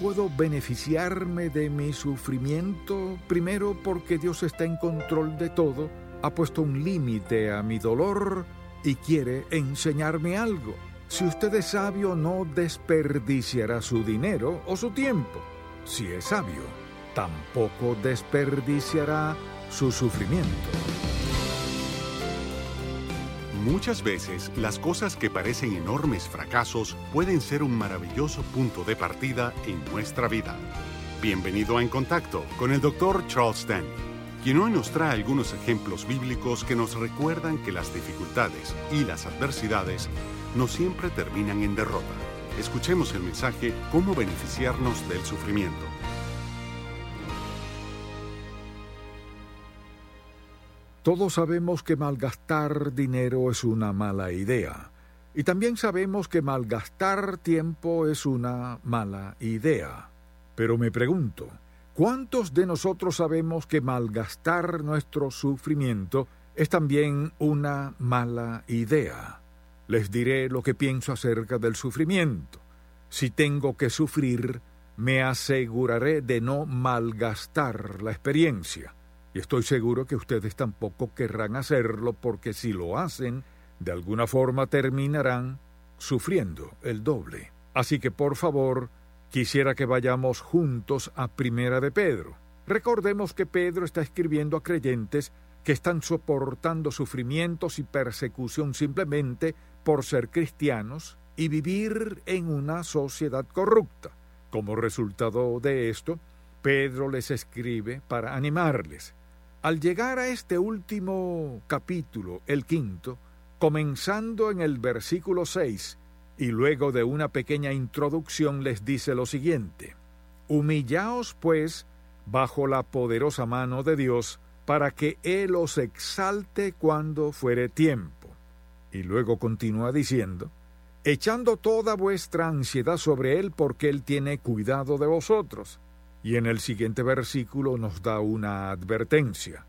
Puedo beneficiarme de mi sufrimiento? Primero, porque Dios está en control de todo, ha puesto un límite a mi dolor y quiere enseñarme algo. Si usted es sabio, no desperdiciará su dinero o su tiempo. Si es sabio, tampoco desperdiciará su sufrimiento. Muchas veces las cosas que parecen enormes fracasos pueden ser un maravilloso punto de partida en nuestra vida. Bienvenido a En Contacto con el Dr. Charles Stanley, quien hoy nos trae algunos ejemplos bíblicos que nos recuerdan que las dificultades y las adversidades no siempre terminan en derrota. Escuchemos el mensaje Cómo beneficiarnos del sufrimiento. Todos sabemos que malgastar dinero es una mala idea. Y también sabemos que malgastar tiempo es una mala idea. Pero me pregunto, ¿cuántos de nosotros sabemos que malgastar nuestro sufrimiento es también una mala idea? Les diré lo que pienso acerca del sufrimiento. Si tengo que sufrir, me aseguraré de no malgastar la experiencia. Y estoy seguro que ustedes tampoco querrán hacerlo, porque si lo hacen, de alguna forma terminarán sufriendo el doble. Así que, por favor, quisiera que vayamos juntos a Primera de Pedro. Recordemos que Pedro está escribiendo a creyentes que están soportando sufrimientos y persecución simplemente por ser cristianos y vivir en una sociedad corrupta. Como resultado de esto, Pedro les escribe para animarles. Al llegar a este último capítulo, el quinto, comenzando en el versículo 6, y luego de una pequeña introducción les dice lo siguiente: Humillaos, pues, bajo la poderosa mano de Dios, para que Él os exalte cuando fuere tiempo. Y luego continúa diciendo: echando toda vuestra ansiedad sobre Él, porque Él tiene cuidado de vosotros. Y en el siguiente versículo nos da una advertencia.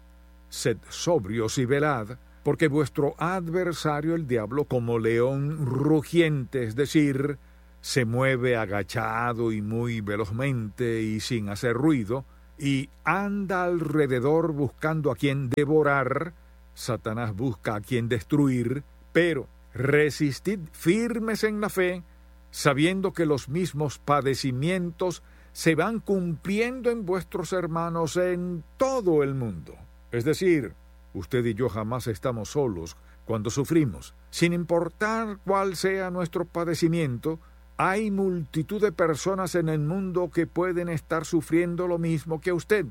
Sed sobrios y velad, porque vuestro adversario el diablo, como león rugiente, es decir, se mueve agachado y muy velozmente y sin hacer ruido, y anda alrededor buscando a quien devorar. Satanás busca a quien destruir, pero resistid firmes en la fe, sabiendo que los mismos padecimientos se van cumpliendo en vuestros hermanos en todo el mundo. Es decir, usted y yo jamás estamos solos cuando sufrimos. Sin importar cuál sea nuestro padecimiento, hay multitud de personas en el mundo que pueden estar sufriendo lo mismo que usted.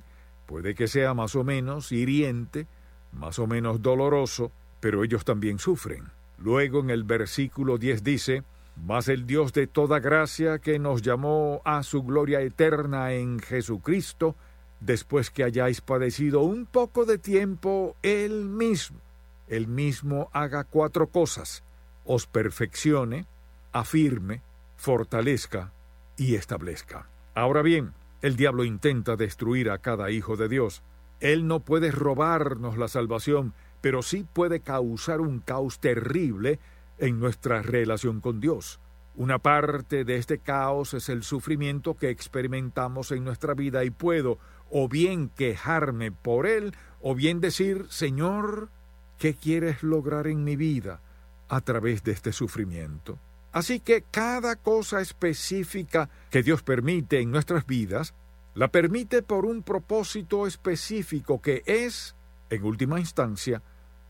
Puede que sea más o menos hiriente, más o menos doloroso, pero ellos también sufren. Luego en el versículo 10 dice: Mas el Dios de toda gracia, que nos llamó a su gloria eterna en Jesucristo, después que hayáis padecido un poco de tiempo, Él mismo haga cuatro cosas: os perfeccione, afirme, fortalezca y establezca. Ahora bien, el diablo intenta destruir a cada hijo de Dios. Él no puede robarnos la salvación, pero sí puede causar un caos terrible en nuestra relación con Dios. Una parte de este caos es el sufrimiento que experimentamos en nuestra vida, y puedo o bien quejarme por él, o bien decir: Señor, ¿qué quieres lograr en mi vida a través de este sufrimiento? Así que cada cosa específica que Dios permite en nuestras vidas, la permite por un propósito específico que es, en última instancia,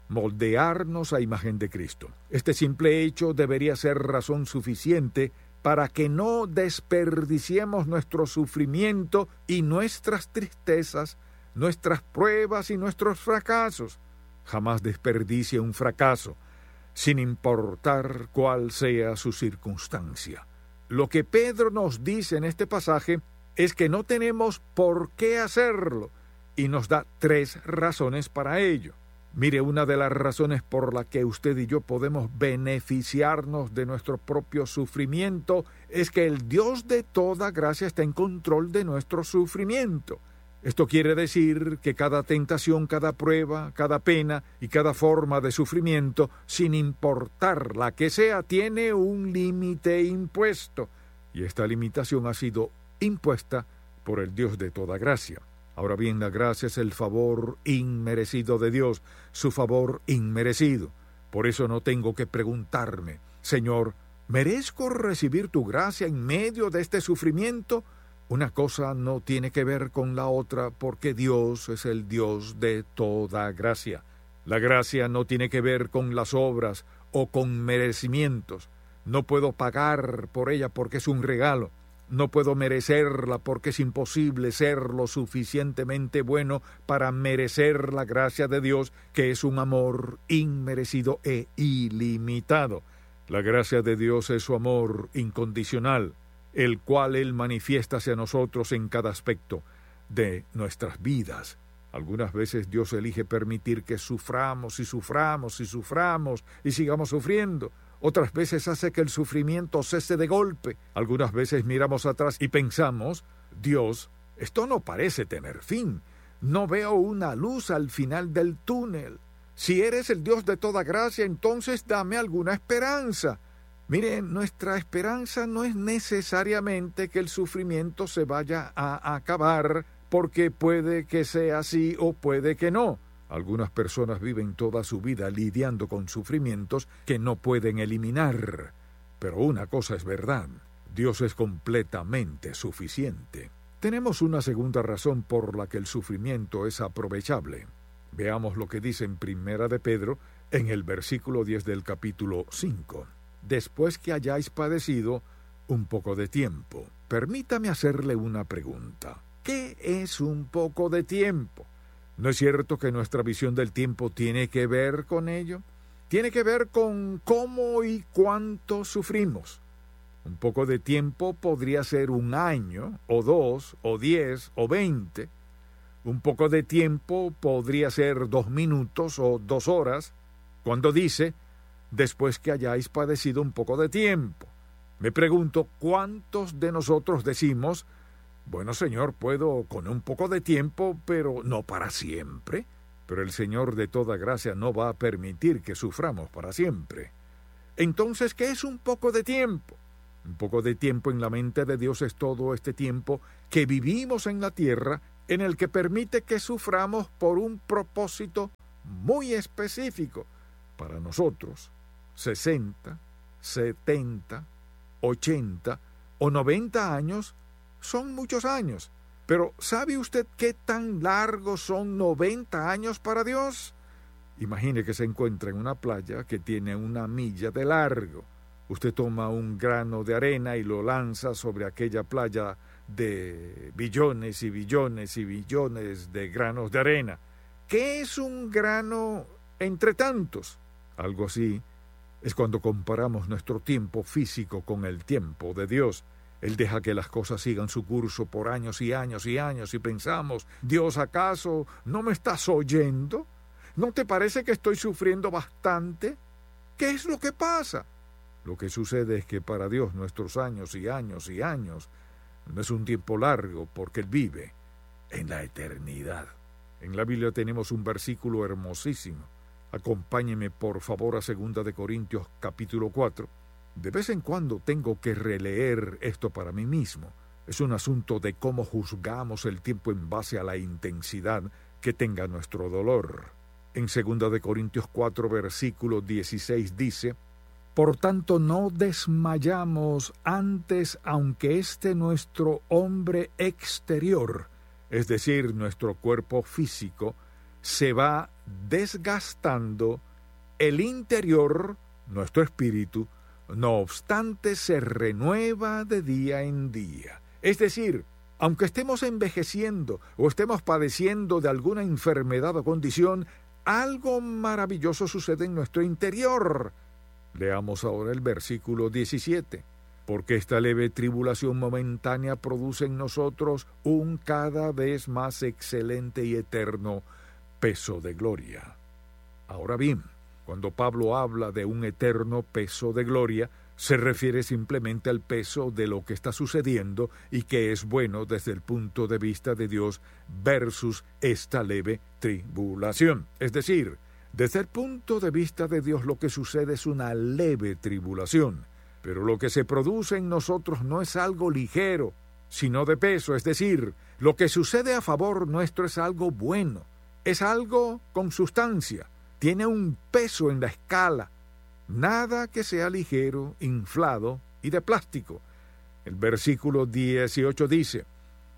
moldearnos a imagen de Cristo. Este simple hecho debería ser razón suficiente para que no desperdiciemos nuestro sufrimiento y nuestras tristezas, nuestras pruebas y nuestros fracasos. Jamás desperdicie un fracaso, sin importar cuál sea su circunstancia. Lo que Pedro nos dice en este pasaje es que no tenemos por qué hacerlo, y nos da tres razones para ello. Mire, una de las razones por la que usted y yo podemos beneficiarnos de nuestro propio sufrimiento es que el Dios de toda gracia está en control de nuestro sufrimiento. Esto quiere decir que cada tentación, cada prueba, cada pena y cada forma de sufrimiento, sin importar la que sea, tiene un límite impuesto. Y esta limitación ha sido impuesta por el Dios de toda gracia. Ahora bien, la gracia es el favor inmerecido de Dios, su favor inmerecido. Por eso no tengo que preguntarme, Señor, ¿merezco recibir tu gracia en medio de este sufrimiento? Una cosa no tiene que ver con la otra porque Dios es el Dios de toda gracia. La gracia no tiene que ver con las obras o con merecimientos. No puedo pagar por ella porque es un regalo. No puedo merecerla porque es imposible ser lo suficientemente bueno para merecer la gracia de Dios, que es un amor inmerecido e ilimitado. La gracia de Dios es su amor incondicional, el cual Él manifiesta hacia nosotros en cada aspecto de nuestras vidas. Algunas veces Dios elige permitir que suframos y suframos y suframos y sigamos sufriendo. Otras veces hace que el sufrimiento cese de golpe. Algunas veces miramos atrás y pensamos, Dios, esto no parece tener fin. No veo una luz al final del túnel. Si eres el Dios de toda gracia, entonces dame alguna esperanza. Miren, nuestra esperanza no es necesariamente que el sufrimiento se vaya a acabar, porque puede que sea así o puede que no. Algunas personas viven toda su vida lidiando con sufrimientos que no pueden eliminar. Pero una cosa es verdad, Dios es completamente suficiente. Tenemos una segunda razón por la que el sufrimiento es aprovechable. Veamos lo que dice en Primera de Pedro, en el versículo 10 del capítulo 5. Después que hayáis padecido un poco de tiempo. Permítame hacerle una pregunta. ¿Qué es un poco de tiempo? ¿No es cierto que nuestra visión del tiempo tiene que ver con ello? Tiene que ver con cómo y cuánto sufrimos. Un poco de tiempo podría ser un año, o 2, o 10, o 20. Un poco de tiempo podría ser 2 minutos o 2 horas, cuando dice, después que hayáis padecido un poco de tiempo. Me pregunto, ¿cuántos de nosotros decimos, bueno, Señor, puedo con un poco de tiempo, pero no para siempre? Pero el Señor de toda gracia no va a permitir que suframos para siempre. Entonces, ¿qué es un poco de tiempo? Un poco de tiempo en la mente de Dios es todo este tiempo que vivimos en la tierra, en el que permite que suframos por un propósito muy específico. Para nosotros, 60, 70, 80 o 90 años son muchos años. Pero ¿sabe usted qué tan largos son 90 años para Dios? Imagine que se encuentra en una playa que tiene 1 milla de largo. Usted toma un grano de arena y lo lanza sobre aquella playa de billones y billones y billones de granos de arena. ¿Qué es un grano entre tantos? Algo así es cuando comparamos nuestro tiempo físico con el tiempo de Dios. Él deja que las cosas sigan su curso por años y años y años y pensamos, Dios, ¿acaso no me estás oyendo? ¿No te parece que estoy sufriendo bastante? ¿Qué es lo que pasa? Lo que sucede es que para Dios nuestros años y años y años no es un tiempo largo porque Él vive en la eternidad. En la Biblia tenemos un versículo hermosísimo. Acompáñeme por favor a 2 de Corintios capítulo 4. De vez en cuando tengo que releer esto para mí mismo. Es un asunto de cómo juzgamos el tiempo en base a la intensidad que tenga nuestro dolor. En 2 de Corintios 4, versículo 16 dice, Por tanto no desmayamos antes, aunque este nuestro hombre exterior, es decir, nuestro cuerpo físico, se va desgastando, el interior, nuestro espíritu, no obstante, se renueva de día en día. Es decir, aunque estemos envejeciendo o estemos padeciendo de alguna enfermedad o condición, algo maravilloso sucede en nuestro interior. Leamos ahora el versículo 17. Porque esta leve tribulación momentánea produce en nosotros un cada vez más excelente y eterno peso de gloria. Ahora bien, cuando Pablo habla de un eterno peso de gloria, se refiere simplemente al peso de lo que está sucediendo y que es bueno desde el punto de vista de Dios versus esta leve tribulación. Es decir, desde el punto de vista de Dios lo que sucede es una leve tribulación, pero lo que se produce en nosotros no es algo ligero, sino de peso. Es decir, lo que sucede a favor nuestro es algo bueno, es algo con sustancia, tiene un peso en la escala. Nada que sea ligero, inflado y de plástico. El versículo 18 dice,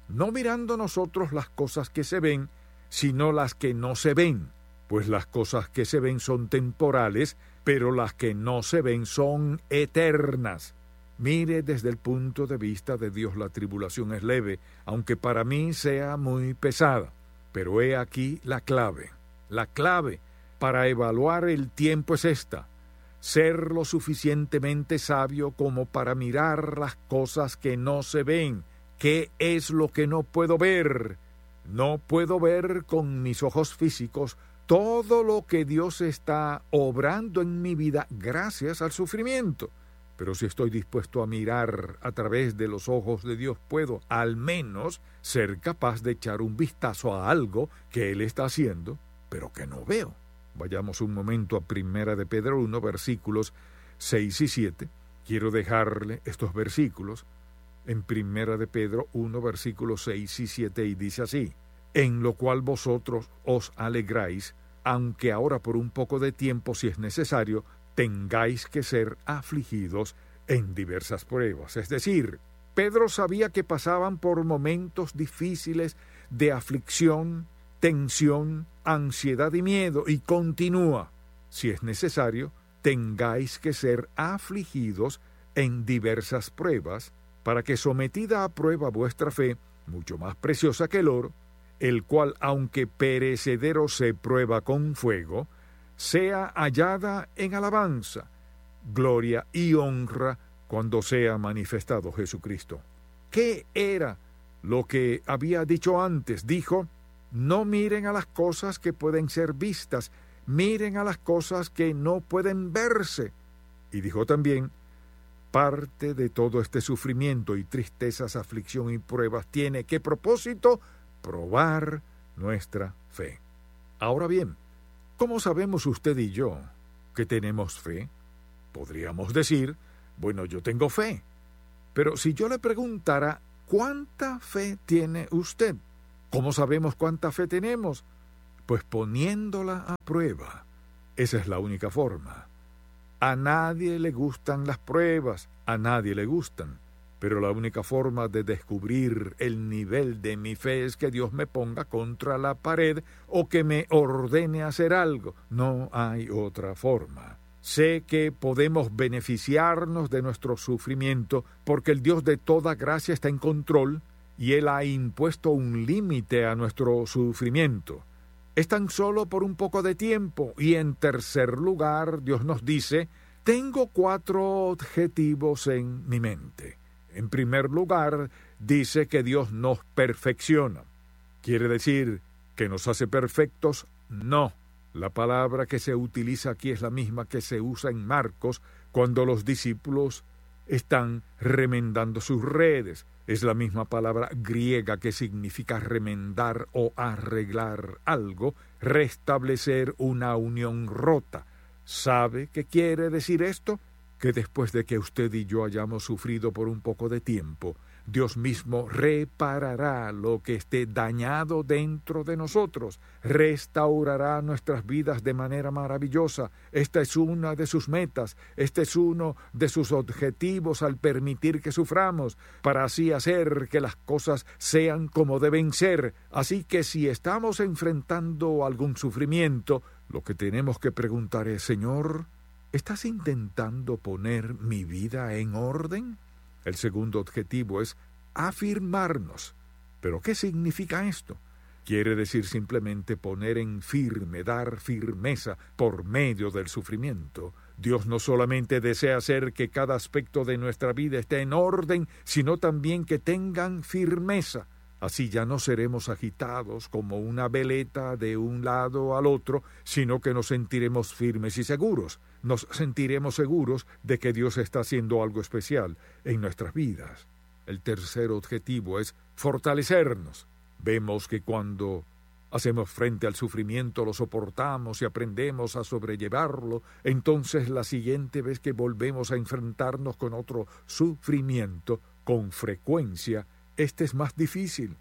no mirando nosotros las cosas que se ven, sino las que no se ven, pues las cosas que se ven son temporales, pero las que no se ven son eternas. Mire, desde el punto de vista de Dios la tribulación es leve, aunque para mí sea muy pesada. Pero he aquí la clave. La clave para evaluar el tiempo es esta: ser lo suficientemente sabio como para mirar las cosas que no se ven. ¿Qué es lo que no puedo ver? No puedo ver con mis ojos físicos todo lo que Dios está obrando en mi vida gracias al sufrimiento. Pero si estoy dispuesto a mirar a través de los ojos de Dios, puedo al menos ser capaz de echar un vistazo a algo que Él está haciendo, pero que no veo. Vayamos un momento a 1 de Pedro 1, versículos 6 y 7. Quiero dejarle estos versículos en 1 de Pedro 1, versículos 6 y 7, y dice así: en lo cual vosotros os alegráis, aunque ahora por un poco de tiempo, si es necesario, tengáis que ser afligidos en diversas pruebas. Es decir, Pedro sabía que pasaban por momentos difíciles de aflicción, tensión, ansiedad y miedo, y continúa: si es necesario, tengáis que ser afligidos en diversas pruebas, para que sometida a prueba vuestra fe, mucho más preciosa que el oro, el cual, aunque perecedero se prueba con fuego, sea hallada en alabanza, gloria y honra cuando sea manifestado Jesucristo. ¿Qué era lo que había dicho antes? Dijo: no miren a las cosas que pueden ser vistas, miren a las cosas que no pueden verse. Y dijo también: parte de todo este sufrimiento y tristezas, aflicción y pruebas tiene que propósito probar nuestra fe. Ahora bien, ¿cómo sabemos usted y yo que tenemos fe? Podríamos decir, bueno, yo tengo fe. Pero si yo le preguntara, ¿cuánta fe tiene usted? ¿Cómo sabemos cuánta fe tenemos? Pues poniéndola a prueba. Esa es la única forma. A nadie le gustan las pruebas, a nadie le gustan. Pero la única forma de descubrir el nivel de mi fe es que Dios me ponga contra la pared o que me ordene hacer algo. No hay otra forma. Sé que podemos beneficiarnos de nuestro sufrimiento porque el Dios de toda gracia está en control y Él ha impuesto un límite a nuestro sufrimiento. Es tan solo por un poco de tiempo. Y en tercer lugar, Dios nos dice: tengo 4 objetivos en mi mente. En primer lugar, dice que Dios nos perfecciona. ¿Quiere decir que nos hace perfectos? No. La palabra que se utiliza aquí es la misma que se usa en Marcos cuando los discípulos están remendando sus redes. Es la misma palabra griega que significa remendar o arreglar algo, restablecer una unión rota. ¿Sabe qué quiere decir esto? Que después de que usted y yo hayamos sufrido por un poco de tiempo, Dios mismo reparará lo que esté dañado dentro de nosotros, restaurará nuestras vidas de manera maravillosa. Esta es una de sus metas, este es uno de sus objetivos al permitir que suframos, para así hacer que las cosas sean como deben ser. Así que si estamos enfrentando algún sufrimiento, lo que tenemos que preguntar es: Señor, ¿estás intentando poner mi vida en orden? El segundo objetivo es afirmarnos. ¿Pero qué significa esto? Quiere decir simplemente poner en firme, dar firmeza por medio del sufrimiento. Dios no solamente desea hacer que cada aspecto de nuestra vida esté en orden, sino también que tengan firmeza. Así ya no seremos agitados como una veleta de un lado al otro, sino que nos sentiremos firmes y seguros. Nos sentiremos seguros de que Dios está haciendo algo especial en nuestras vidas. El tercer objetivo es fortalecernos. Vemos que cuando hacemos frente al sufrimiento, lo soportamos y aprendemos a sobrellevarlo, entonces la siguiente vez que volvemos a enfrentarnos con otro sufrimiento, con frecuencia, Este es más difícil,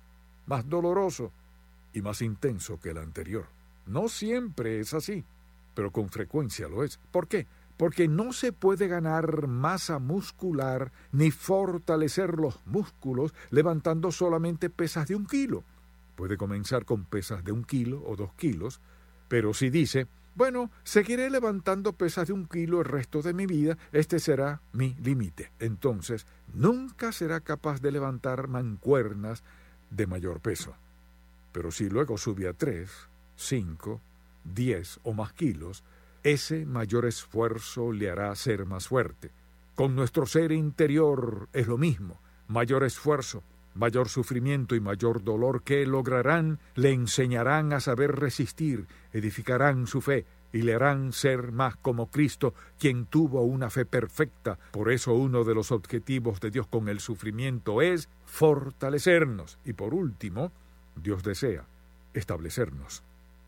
más doloroso y más intenso que el anterior. No siempre es así, pero con frecuencia lo es. ¿Por qué? Porque no se puede ganar masa muscular ni fortalecer los músculos levantando solamente pesas de 1 kilo. Puede comenzar con pesas de 1 kilo o 2 kilos, pero si dice, bueno, seguiré levantando pesas de 1 kilo el resto de mi vida, este será mi límite. Entonces, nunca será capaz de levantar mancuernas de mayor peso. Pero si luego sube a 3, 5, 10 o más kilos, ese mayor esfuerzo le hará ser más fuerte. Con nuestro ser interior es lo mismo. Mayor esfuerzo, mayor sufrimiento y mayor dolor que lograrán, le enseñarán a saber resistir, edificarán su fe y le harán ser más como Cristo, quien tuvo una fe perfecta. Por eso uno de los objetivos de Dios con el sufrimiento es fortalecernos. Y por último, Dios desea establecernos.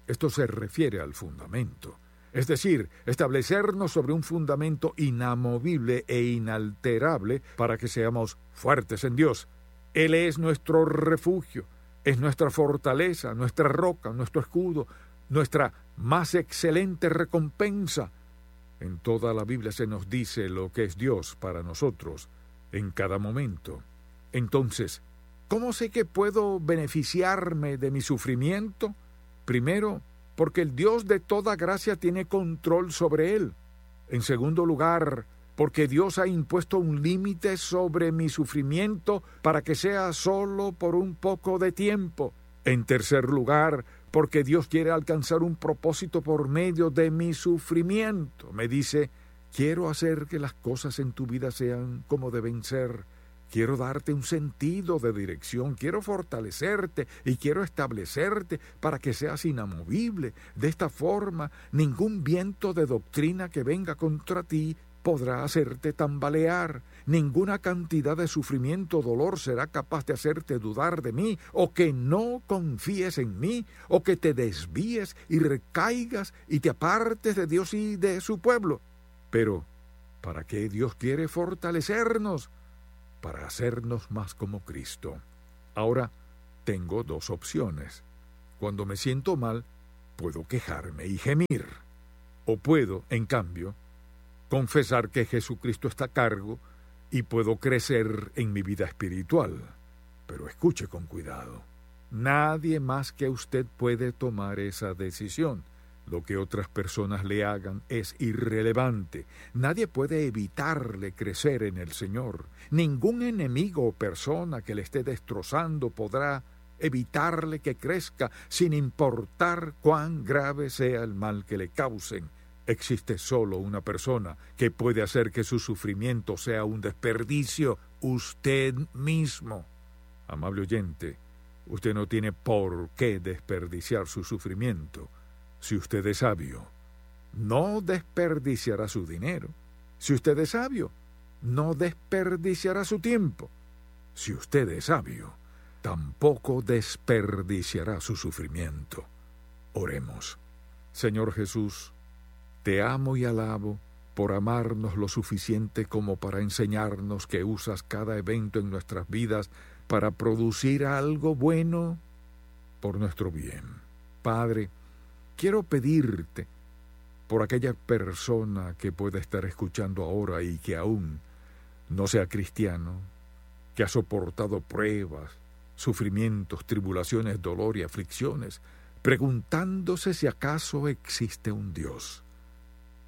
Esto se refiere al fundamento. Es decir, establecernos sobre un fundamento inamovible e inalterable para que seamos fuertes en Dios. Él es nuestro refugio, es nuestra fortaleza, nuestra roca, nuestro escudo, nuestra más excelente recompensa. En toda la Biblia se nos dice lo que es Dios para nosotros en cada momento. Entonces, ¿cómo sé que puedo beneficiarme de mi sufrimiento? Primero, porque el Dios de toda gracia tiene control sobre él. En segundo lugar, porque Dios ha impuesto un límite sobre mi sufrimiento para que sea solo por un poco de tiempo. En tercer lugar, porque Dios quiere alcanzar un propósito por medio de mi sufrimiento. Me dice, quiero hacer que las cosas en tu vida sean como deben ser. Quiero darte un sentido de dirección, quiero fortalecerte y quiero establecerte para que seas inamovible. De esta forma, ningún viento de doctrina que venga contra ti podrá hacerte tambalear. Ninguna cantidad de sufrimiento o dolor será capaz de hacerte dudar de mí, o que no confíes en mí, o que te desvíes y recaigas y te apartes de Dios y de su pueblo. Pero, ¿para qué Dios quiere fortalecernos? Para hacernos más como Cristo. Ahora, tengo 2 opciones. Cuando me siento mal, puedo quejarme y gemir. O puedo, en cambio, confesar que Jesucristo está a cargo y puedo crecer en mi vida espiritual. Pero escuche con cuidado. Nadie más que usted puede tomar esa decisión. Lo que otras personas le hagan es irrelevante. Nadie puede evitarle crecer en el Señor. Ningún enemigo o persona que le esté destrozando podrá evitarle que crezca, sin importar cuán grave sea el mal que le causen. Existe solo una persona que puede hacer que su sufrimiento sea un desperdicio: usted mismo. Amable oyente, usted no tiene por qué desperdiciar su sufrimiento. Si usted es sabio, no desperdiciará su dinero. Si usted es sabio, no desperdiciará su tiempo. Si usted es sabio, tampoco desperdiciará su sufrimiento. Oremos. Señor Jesús, te amo y alabo por amarnos lo suficiente como para enseñarnos que usas cada evento en nuestras vidas para producir algo bueno por nuestro bien. Padre, quiero pedirte por aquella persona que pueda estar escuchando ahora y que aún no sea cristiano, que ha soportado pruebas, sufrimientos, tribulaciones, dolor y aflicciones, preguntándose si acaso existe un Dios.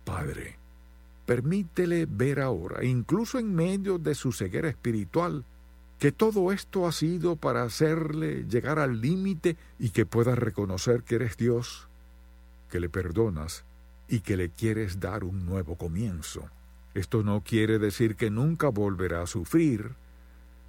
Padre, permítele ver ahora, incluso en medio de su ceguera espiritual, que todo esto ha sido para hacerle llegar al límite y que pueda reconocer que eres Dios, que le perdonas y que le quieres dar un nuevo comienzo. Esto no quiere decir que nunca volverá a sufrir,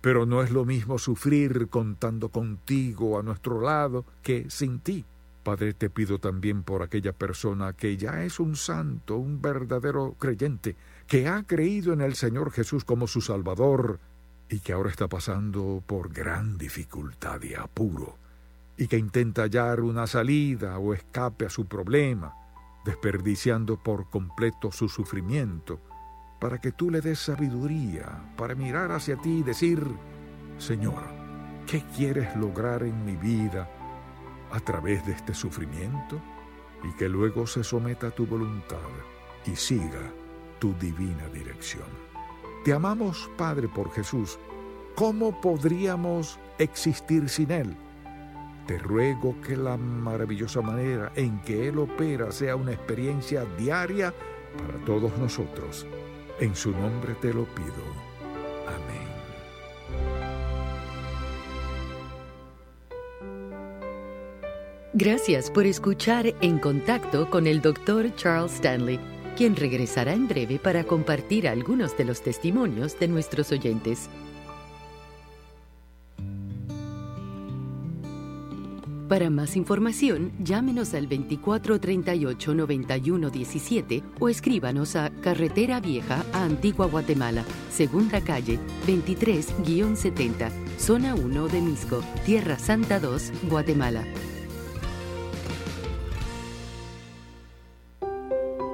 pero no es lo mismo sufrir contando contigo a nuestro lado que sin ti. Padre, te pido también por aquella persona que ya es un santo, un verdadero creyente, que ha creído en el Señor Jesús como su Salvador y que ahora está pasando por gran dificultad y apuro, y que intenta hallar una salida o escape a su problema, desperdiciando por completo su sufrimiento, para que tú le des sabiduría para mirar hacia ti y decir: Señor, ¿Qué quieres lograr en mi vida a través de este sufrimiento? Y que luego se someta a tu voluntad y siga tu divina dirección. Te amamos, Padre, por Jesús. ¿Cómo podríamos existir sin Él? Te ruego que la maravillosa manera en que Él opera sea una experiencia diaria para todos nosotros. En su nombre te lo pido. Amén. Gracias por escuchar En Contacto con el Dr. Charles Stanley, quien regresará en breve para compartir algunos de los testimonios de nuestros oyentes. Para más información, llámenos al 2438-9117 o escríbanos a Carretera Vieja a Antigua Guatemala, Segunda Calle, 23-70, Zona 1 de Misco, Tierra Santa 2, Guatemala.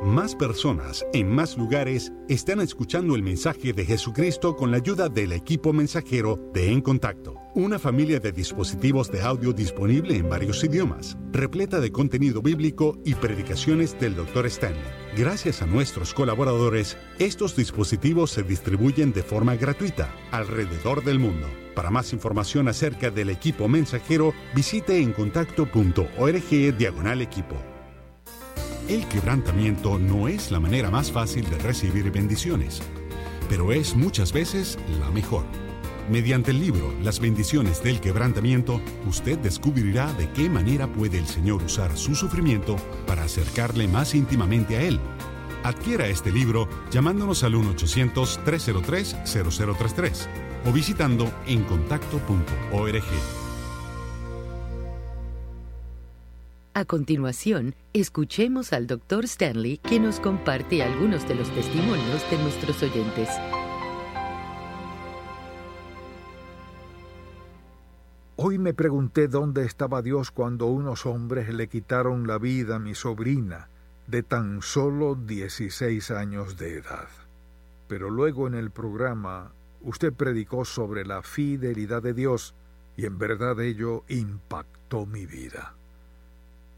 Más personas en más lugares están escuchando el mensaje de Jesucristo con la ayuda del equipo mensajero de En Contacto, una familia de dispositivos de audio disponible en varios idiomas, repleta de contenido bíblico y predicaciones del Dr. Stanley. Gracias a nuestros colaboradores, estos dispositivos se distribuyen de forma gratuita alrededor del mundo. Para más información acerca del equipo mensajero, visite encontacto.org/equipo. El quebrantamiento no es la manera más fácil de recibir bendiciones, pero es muchas veces la mejor. Mediante el libro Las bendiciones del quebrantamiento, usted descubrirá de qué manera puede el Señor usar su sufrimiento para acercarle más íntimamente a Él. Adquiera este libro llamándonos al 1-800-303-0033 o visitando encontacto.org. A continuación, escuchemos al Dr. Stanley, quien nos comparte algunos de los testimonios de nuestros oyentes. Hoy me pregunté dónde estaba Dios cuando unos hombres le quitaron la vida a mi sobrina de tan solo 16 años de edad. Pero luego en el programa usted predicó sobre la fidelidad de Dios y en verdad ello impactó mi vida.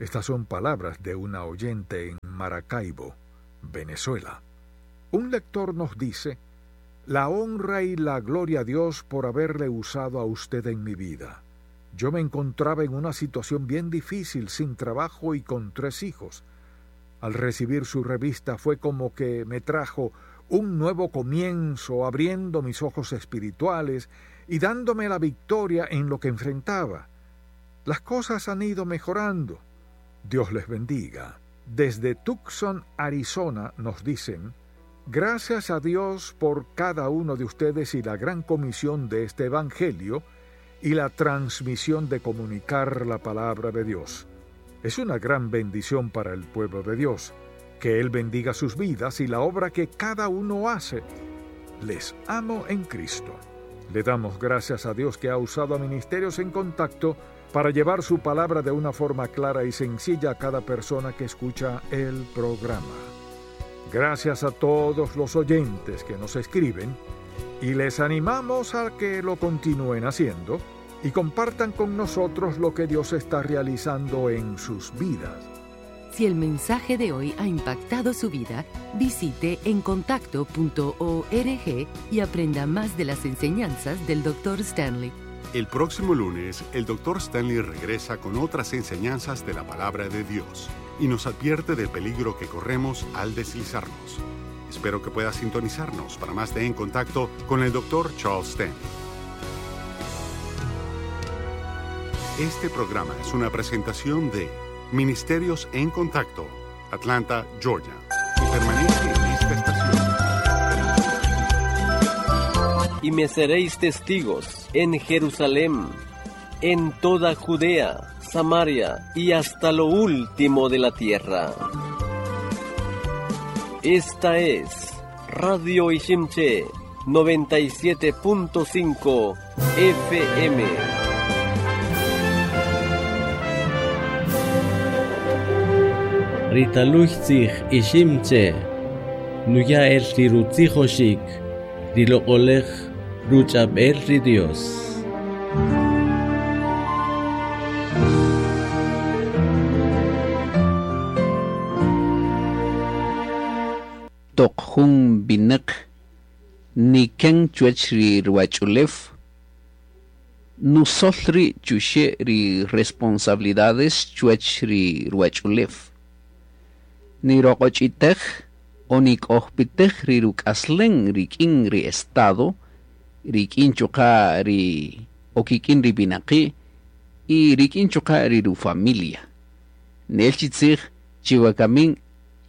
Estas son palabras de una oyente en Maracaibo, Venezuela. Un lector nos dice: la honra y la gloria a Dios por haberle usado a usted en mi vida. Yo me encontraba en una situación bien difícil, sin trabajo y con 3 hijos. Al recibir su revista fue como que me trajo un nuevo comienzo, abriendo mis ojos espirituales y dándome la victoria en lo que enfrentaba. Las cosas han ido mejorando. Dios les bendiga. Desde Tucson, Arizona, nos dicen: gracias a Dios por cada uno de ustedes y la gran comisión de este Evangelio y la transmisión de comunicar la palabra de Dios. Es una gran bendición para el pueblo de Dios. Que Él bendiga sus vidas y la obra que cada uno hace. Les amo en Cristo. Le damos gracias a Dios que ha usado a Ministerios en Contacto para llevar su palabra de una forma clara y sencilla a cada persona que escucha el programa. Gracias a todos los oyentes que nos escriben y les animamos a que lo continúen haciendo y compartan con nosotros lo que Dios está realizando en sus vidas. Si el mensaje de hoy ha impactado su vida, visite encontacto.org y aprenda más de las enseñanzas del Dr. Stanley. El próximo lunes, el Dr. Stanley regresa con otras enseñanzas de la Palabra de Dios y nos advierte del peligro que corremos al deslizarnos. Espero que pueda sintonizarnos para más de En Contacto con el Dr. Charles Stanley. Este programa es una presentación de Ministerios en Contacto, Atlanta, Georgia, y permanece en esta estación. Y me seréis testigos en Jerusalén, en toda Judea, Samaria y hasta lo último de la tierra. Esta es Radio Iximché 97.5 FM. Ritaluchtzij Iximché, nuya el rirutzijoxik, riloqolej ruch'ab'el ri Dios. Toq jun winäq niken chuwäch ri ruwach'ulew, nusöl ri' chuxe' ri responsabilidades chuwäch ri ruwach'ulew. Niroq'och'itej o nik'ojpitej ri ruk'aslen rik'in ri Estado, rik'in chuqa' ri o kik'in ri winaqi' y rik'in chuqa' ri ru-familia. Nel chi tzij chi wakamin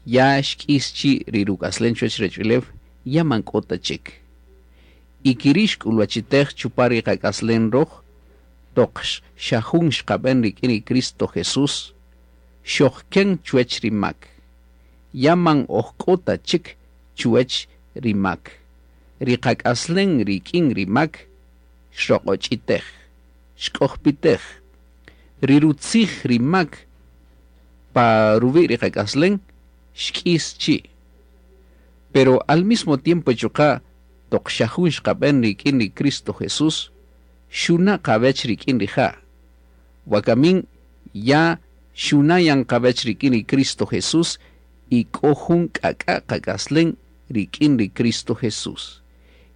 ya xk'is chi ri ruk'aslen chuwäch ruwach'ulew ya man k'o ta chik. Y keri' xk'ulwachitej chupan ri qak'aslen röj toq xa jun xqab'än rik'in ri Cristo Jesús, xojken chuwäch ri mak. Ya man oj k'o ta chik chuwäch ri mak. Ri qak'aslen rik'in ri mak xroq'och'itej, xk'ojpitej. Ri rutzij ri mak pa ruwi' ri qak'aslen xk'is chi'. Pero al mismo tiempo chuqa' toq xa jun xqab'än rik'in ri Cristo Jesús, xuna' qawech rik'in rija'. Wakamin ya xuna' yan qawech rik'in ri Cristo Jesús y k'o jun k'ak'a' qak'aslen rik'in ri Cristo Jesús.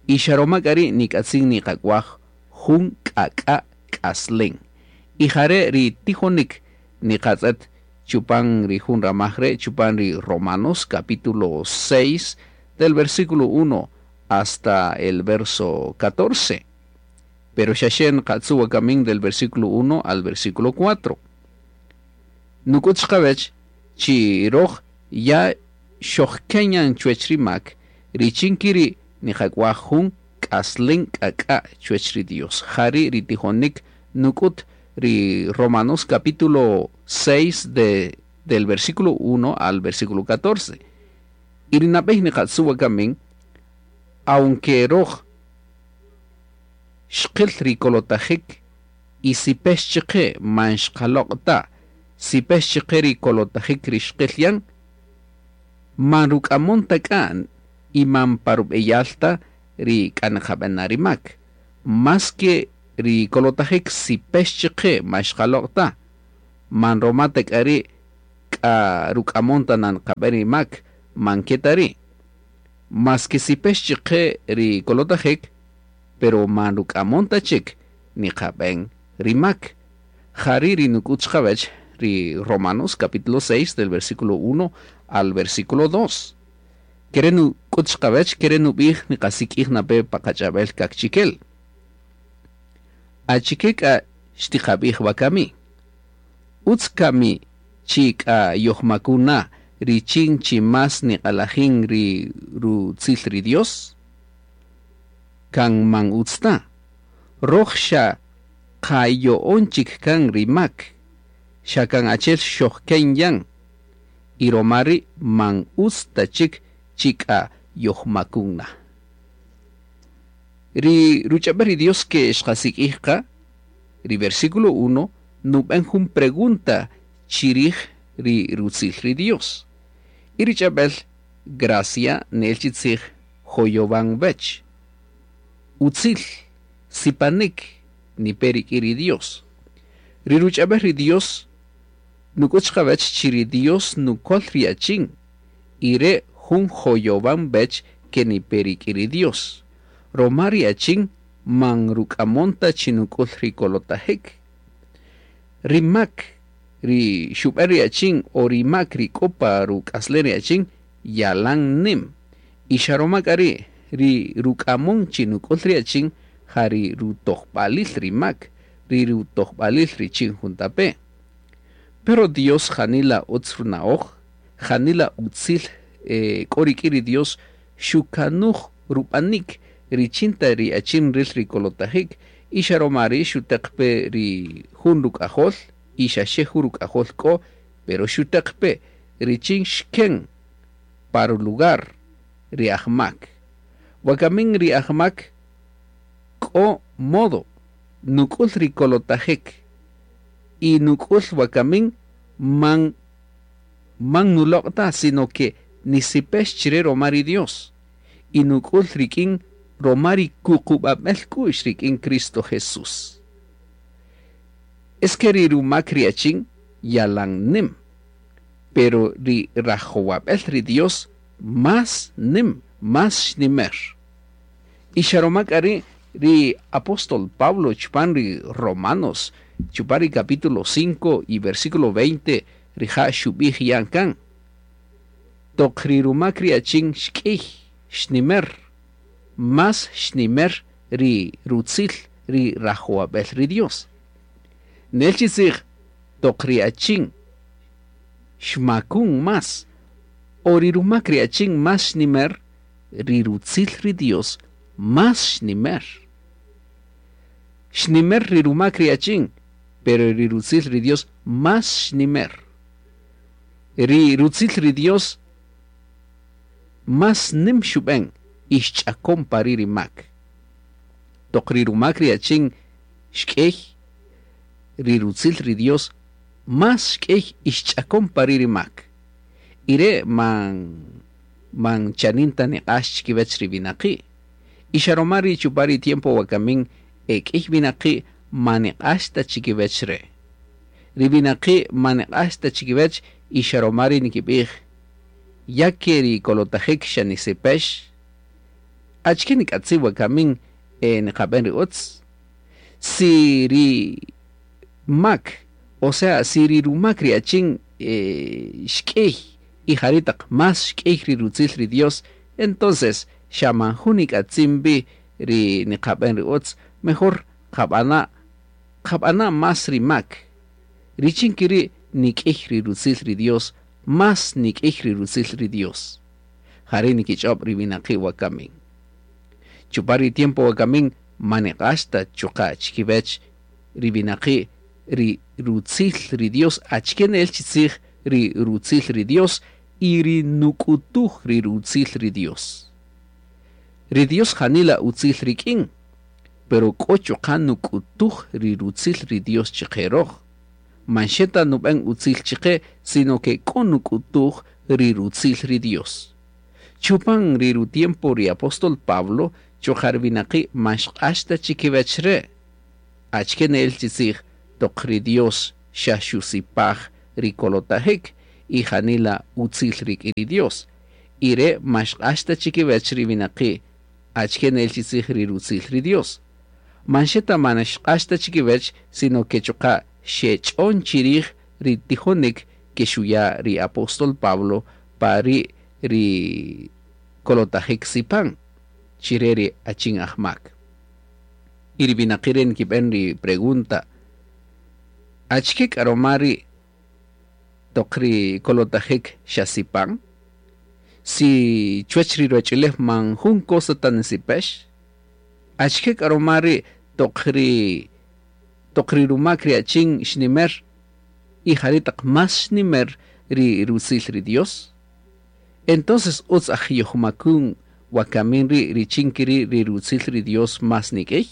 Y xa roma k'a ri' nik'atzin niqak'waj jun k'ak'a' k'aslen. Y jare' ri tijonik niqatz'et chupan ri jun ramaj re' chupan ri Romanos capítulo 6 del versículo 1 hasta el verso 14. Pero xa xe nqatzu' wakamin del versículo 1 al versículo 4. Nuk'ut chiqawech chi röj ya xojken yan chuwech ri mak richin kiri' niqak'waj jun k'aslen k'ak'a' chuwech ri Dios. Jari' ri tijonik nuk'ut ri Romanos capítulo 6 del versículo 1 al versículo 14. Y ri nab'ey niqatzu' wakamin, aunque röj xqil ri kolotajik y sipex chiqe man xqaloq' ta, sipex chiqe ri kolotajik ri xqil yan, man ruk'amon ta k'a y man pa rub'eyal ta ri k'a niqab'ana ri mak. Más que ri kolotajik sipex chiqe man xqaloq' ta, man roma ta k'a ri' k'a ruk'amon ta na niqab'en ri mak, man ke ta ri'. Más que sipex chiqe ri kolotajik, pero man ruk'amon ta chik niqab'en ri mak. Jari' ri nuk'ut chiqawech ri Romanos capítulo 6 del versículo 1 al versículo 2. Kere' nuk'ut chiqawech, kere' nub'ij niqasik'ij nape pa qach'ab'el kakchikel. Achike k'a xtiqab'ij wakami? Utz kami chi k'a yojmakun na richin chi más niq'alajin ri rutzil ri Dios? Kan man utz ta. Röj xa qayo'on chik kan ri mak, xa kan achel xojken yan, y roma ri' man utz ta chik chi k'a yojmakun na. Ri ruch'ab'el ri Dios ke xqasik'ij qa, ri versículo 1, nub'en jun pregunta chirij ri rutzil ri Dios. Y ri ch'ab'el gracia nel chi tzij joyowan wech. Utzil, sipanik, nipe rik'in ri Dios. Ri ruch'ab'el ri Dios nuk'ut chiqawech chi ri Dios nukol ri achin y re' jun joyowan wech ke nipe rik'in ri Dios. Roma ri achin man ruk'amon ta chi nuk'ul ri kolotajik. Ri mak ri xub'en ri achin o ri mak ri k'o pa ruk'aslen ri achin yalan nim. Y xa roma k'a ri' ri ruk'amon chi nuk'ul ri achin ja ri rutojb'alil ri mak, ri rutojb'alil richin juntape'. Pero Dios janila utz runa'oj, janila utzil k'o rik'in ri Dios xukanuj rub'anik richin ta ri achin ril ri kolotajik y xa roma ri' xuteq pe ri jun ruk'ajol y xa xe jun ruk'ajol k'o, pero xuteq pe richin xken pa ru-lugar ri ajmak. Wakamin ri ajmak k'o modo nuk'ul ri kolotajik y nuk'ul wakamin man nuloq' ta, sino que nisipex chire roma ri Dios y nuk'ul rik'in roma ri kuqub'ab'el k'u'x rik'in Cristo Jesús. Es que ri rumak ri achin yalan nim, pero ri rajowab'el ri Dios Más nim, más xnimer. Y xa roma k'a ri' ri apóstol Pablo chupan ri Romanos, chupan ri capítulo 5 y versículo 20, rija' xub'ij yan kan. Toq ri rumak ri achin xk'iy, xnimer, más xnimer ri rutzil ri rajowab'el ri Dios. Nel chi tzij, toq ri achin xmakun más, o ri rumak ri achin más xnimer, ri rutzil ri Dios más xnimer. Xnimer ri rumak ri achin, pero ri rutzil ri Dios más xnimer. Ri rutzil ri Dios más nim xub'en y xch'akon pari ri mak. Toq ri rumak ri achin xk'ey, ri rutzil ri Dios más xk'ey y xch'akon pari ri mak. Y re' man chanin ta niq'ax chikiwech ri winaqi'. Y xa roma ri chupan ri tiempo wakamin e k'iy winaqi' ma niq'ax ta chikiwech re'. Ri winaqi' ma niq'ax ta chikiwech y xa roma ri nikib'ij, ya ke ri kolotajik xa nisipex, achike nik'atzin wakamin niqab'en ri utz? Si ri mak, o sea, si ri rumak ri achin xk'iy y jari' taq más xk'iy ri rutzil ri Dios, entonces xa man jun nik'atzin wi ri niqab'en ri utz, mejor qab'ana' más ri mak. Richin keri' nik'iy ri rutzil ri Dios, más nik'iy ri rutzil ri Dios. Jari' nikich'ob' ri winaqi' wakamin. Chupan ri tiempo wakamin ma niq'ax ta chuqa' chikiwech ri winaqi' ri rutzil ri Dios, achike ne'el chi tzij ri rutzil ri Dios y ri nuk'utuj ri rutzil ri Dios. Ri Dios janila utzil rik'in, pero k'o chuqa' nuk'utuj ri rutzil ri Dios chiqe roj. Man xe ta nub'en utzil chiqe, sino que k'o nuk'utuj ri rutzil ri Dios. Chupan ri rutiempo ri apóstol Pablo, chuqa' ri winaqi' man xq'ax ta chikiwech re'. Achike ne'el chi tzij toq ri Dios xa xusipaj ri kolotajik y janila utzil rik'in ri Dios. Y re' man xq'ax ta chikiwech ri winaqi' achike ne'el chi tzij ri rutzil ri Dios. Man xe ta man xq'ax ta chikiwech, sino que chuqa' xech'on chirij ri tijonik ke xuya' ri apóstol Pablo pari ri kolotajik sipan chire ri achin ajmak. Y ri winaqi' re' nikib'en ri pregunta, achike k'a roma ri' toq ri kolotajik xa sipan? Si chuwech ri ruwach'ulew man jun cosa ta nisipex, achike k'a roma ri' toq ri rumak ri achin xnimer y jari' taq más xnimer ri rutzil ri Dios? Entonces utz aj yojmakun wakamin ri' richin keri' ri rutzil ri Dios más nik'iy?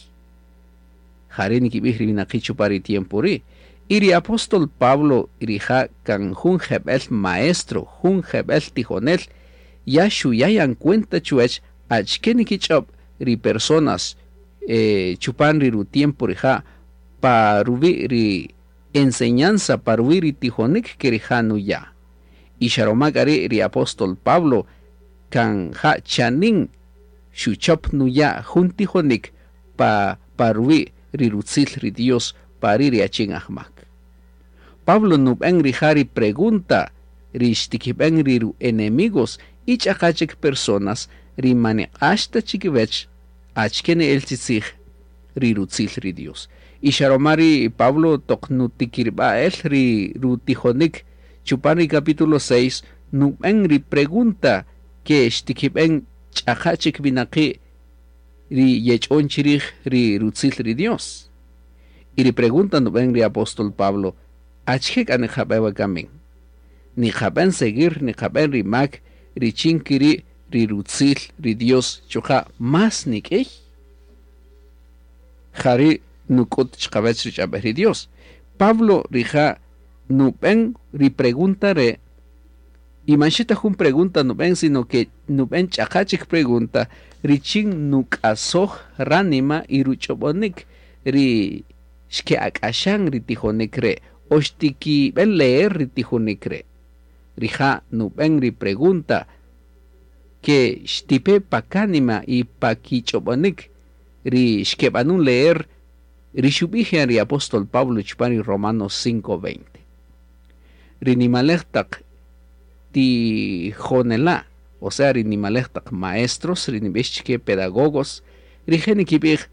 Jari' nikib'ij ri winaqi' chupan ri tiempo ri'. Y ri apóstol Pablo rija' kan jun jeb'el maestro, jun jeb'el tijonel, ya xuya' yan cuenta chuwech achike nikich'ob' ri personas chupan ri rutiempo rija' pa ruwi' ri enseñanza, pa ruwi' ri tijonik ke rija' nuya'. Y xa roma k'a ri' ri apóstol Pablo kan ja chanin xuchop nuya' jun tijonik pa ruwi' ri rutzil ri Dios pari' ri achin ajmak. Pablo nub'en rija' ri pregunta ri xtikib'en ri ru-enemigos y ch'aqa chik personas ri man niq'ax ta chikiwech achike ne'el chi tzij ri rutzil ri Dios. Y xa roma ri Pablo toq nutikirb'a el ri rutijonik chupan ri capítulo 6 nub'en ri pregunta ke xtikib'en ch'aqa chik winaqi' ri yech'on chirij ri rutzil ri Dios. Y ri pregunta nub'en ri apóstol Pablo, achike k'a niqab'en wakamin? Niqab'en seguir, niqab'en ri mak, richin kiri' ri rutzil ri Dios chuqa' más nik'iy? Jari' nuk'ut chiqawech ri ch'ab'ej ri Dios. Pablo rija' nub'en ri pregunta re', y man xe ta jun pregunta nub'en, sino que nub'en ch'aqa chik pregunta richin nuk'asoj ránima y ruch'ob'onik ri xke'ak'axan ri tijonik re', o xtikib'en leer ri tijonik re'. Rija' nub'en ri pregunta ke xtipe pa kánima y pa kich'ob'onik ri xkeb'anun leer ri xub'ij yan ri apóstol Pablo chupan ri Romanos 5:20. Ri nimalej taq tijonela', o sea ri nimalej taq maestros, ri nib'ix chike pedagogos, rije' nikib'ij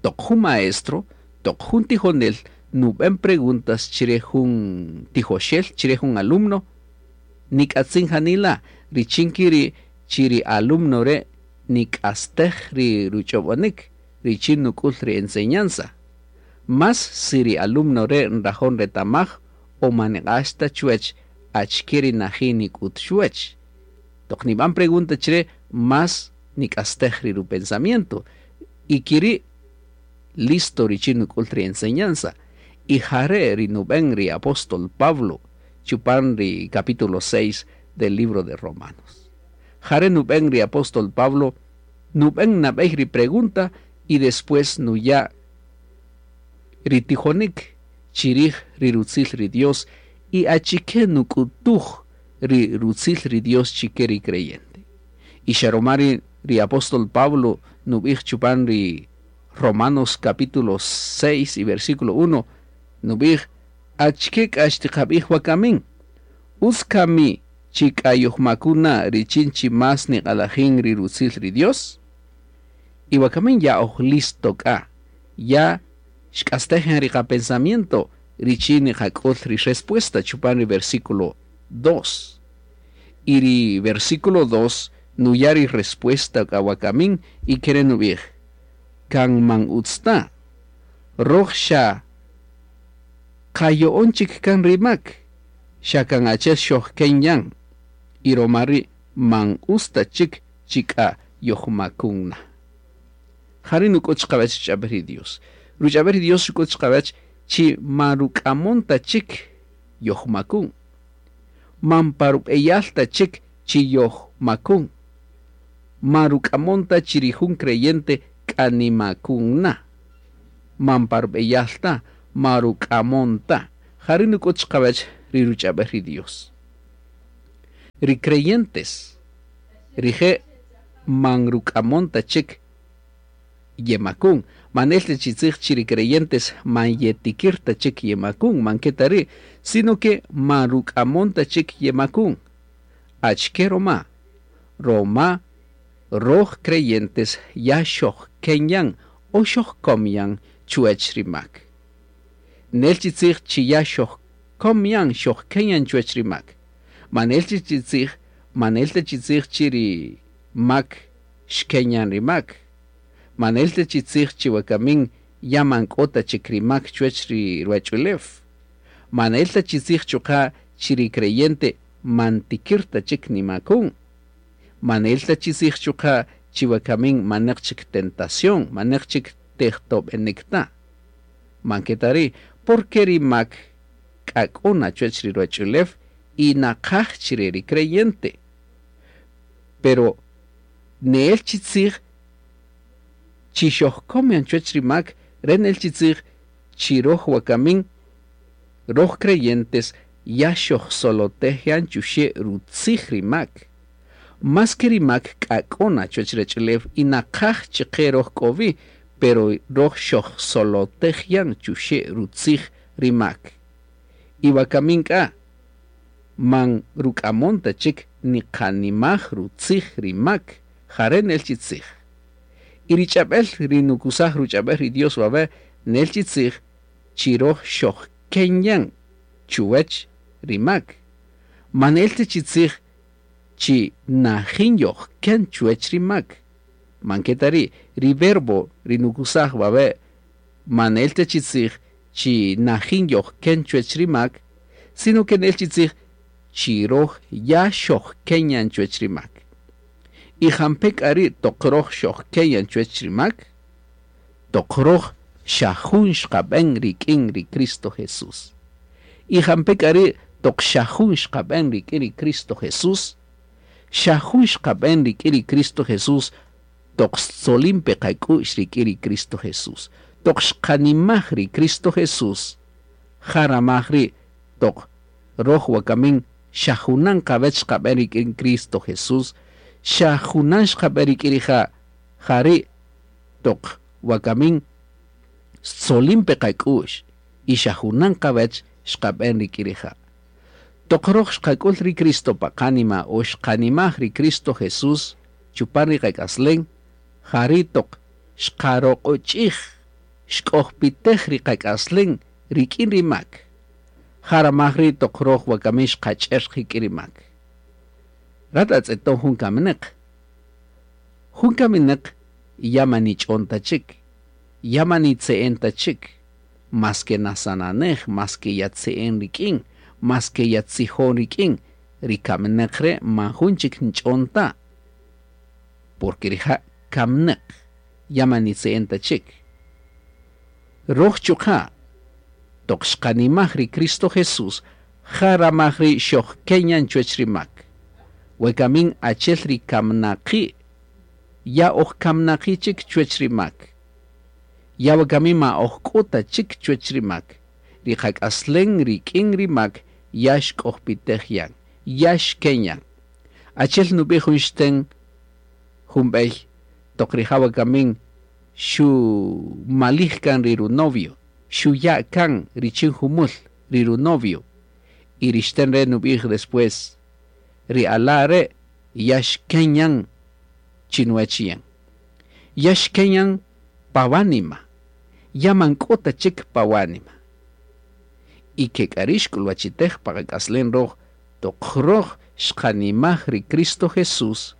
toq jun maestro, toq jun tijonel nub'en preguntas chire jun tijoxel, chire jun alumno, nik'atzin janila richin kiri chi ri alumno re' nik'astej ri ruch'ob'onik richin nuk'ul ri enseñanza. Más si ri alumno re' nrajo' nretamaj o man niq'ax ta chuwech achike ri najin nik'ut chuwech. Toq nib'an pregunta chire más nik'astej ri rupensamiento y kiri' listo richin nuk'ul ri enseñanza. Y jare' ri nub'en ri apóstol Pablo chupan ri capítulo 6 del libro de Romanos. Jare' nub'en ri apóstol Pablo nub'en nab'ey ri pregunta y después nuya' ri tijonik chirij ri rutzil ri Dios y achike nuk'utuj ri rutzil ri Dios chike ri creyente. Y xa roma ri apóstol Pablo nub'ij chupan ri Romanos capítulo 6 y versículo 1 nub'ij achike k'a xtiqab'ij wakamin utz kami chi k'a yojmakuna richin chi más niq'alajin ri rutzil ri Dios. Y wakamin ya oj listo k'a, ya xk'astej ri qapensamiento richin niqak'ul ri respuesta chupan ri versículo 2. Y ri versículo 2 nuya' ri respuesta k'a wakamin y kere' nub'ij kan man utz ta roj xa qayo'on chik kan ri mak xa kan achel xojken yan y roma ri' man utz ta chik chi k'a yojmakun na. Jari' nuk'ut chiqawach ruch'ab'al ri Dios. Ruch'ab'al ri Dios xuk'ut chiqawach chi man ruk'amon ta chik yojmakun. Man pa rub'eyal ta chik chi yojmakun. Man ruk'amon ta chi ri jun creyente k'a nimakun na. Man pa rub'eyal ta, man ruk'amon ta. Jari' nuk'ut chiqawach ri ruch'ab'al ri Dios. Ri creyentes rije' man ruk'amon ta chik yemakun. Manel ta chi tzij chi ri creyentes man yetikir ta chik yemakun, man ke ta ri', sino que man ruk'amon ta chik yemakun. Achike roma? Roma roj creyentes ya xojken yan o xojkom yan chuwech ri mak. Nel chi tzij chi ya xojkom yan, xojken yan chuwech ri mak. Manel chi tzij, manel ta chi tzij chi ri mak xken yan ri mak. Manel ta chi tzij chi wakamin ya man k'o ta chik ri mak chuwech ri ruwach'ulew. Manel ta chi tzij chuqa' chi ri creyente man tikir ta chik nimakun. Manel ta chi tzij chuqa' chi wakamin maneq chik tentación, maneq chik tejtob'enik ta. Man ke ta ri', porque ri mak k'a k'o na chuwech ri ruwach'ulew y naqaj chire ri creyente. Pero neel chi tzij chi xojkom yan chuwech ri mak, re nel chi tzij chi roj wakamin, roj creyentes ya xojsolotej yan chuxe' rutzij ri mak. Más que ri mak k'a k'o na chuwech ruwach'ulew y naqaj chiqe roj k'o wi, pero roj xojsolotej yan chuxe' rutzij ri mak. Y wakamin k'a man ruk'amon ta chik niqanimaj rutzij ri mak, jare' nel chi tzij. Y ri ch'ab'el ri nukusaj ruch'ab'el ri Dios wawe' nel chi tzij chi roj xojken yan chuwech ri mak. Man nel ta chi tzij chi najin yojken chuwech ri mak. Man ke ta ri' ri verbo ri nukusaj wawe' man nel ta chi tzij chi najin yojken chuwech ri mak, sino que nel chi tzij chi roj ya xojken yan chuwech ri mak. Y jampe k'a ri' toq roj xojken yan chuwech ri mak, toq roj xa jun xqab'en rik'in ri Cristo Jesús. Y jampe k'a ri' toq xa jun xqab'en rik'in ri Cristo Jesús, xa jun xqab'en rik'in ri Cristo Jesús, toq xtzolin pe qak'u'x rik'in ri Cristo Jesús. Toq xqanimaj ri Cristo Jesús, jaramaj ri' toq roj wakamin Xa junan qawech xqab'en rik'in Cristo Jesús, xa junan xqab'en rik'in rija', jari' toq wakamin xtzolin pe qak'u'x y xa junan qawech xqab'en rik'in rija'. Toq roj xqak'ul ri Cristo pa qánima o xqanimaj ri Cristo Jesús chupan ri qak'aslen, jari' toq xqaroq'och'ij, xk'ojpitej ri qak'aslen rik'in ri mak. Jaramaj ri' toq roj wakamin xqach'er qik'in ri mak. Rat atz'eton jun kamineq. Jun kamineq ya man nich'on ta chik, ya man nitze'en ta chik, maske nasananej, maske yatze'en rik'in, maske yatzijon rik'in, ri kamineq re' man jun chik nch'on ta. Porque rija' kamineq, ya man nitze'en ta chik. Roj chuqa' toq xqanimaj ri Cristo Jesús, jaramaj ri xojkenyan chuwech ri mak. Wekamin achel ri kamnaqi', ya oj kamnaqi' chik chuwech ri mak. Ya wakamin ma oj k'o ta chik chuwech ri mak. Ri qak'aslen rik'in ri mak ya xk'ojpitej yan, ya xkenyan. Achel nub'ij jun xten jun b'ey toq rija' wakamin xu malij kan ri runovio, xuya' kan richin jumul ri runovio. Y ri xten re nub'ij después, ri ala' re' ya xkenyan chinuwech yan. Ya xkenyan pa wánima, ya man k'o ta chik pa wánima. Y ke k'a ri' xk'ulwachitej pa qak'aslen roj, toq roj xqanimaj ri Cristo Jesús,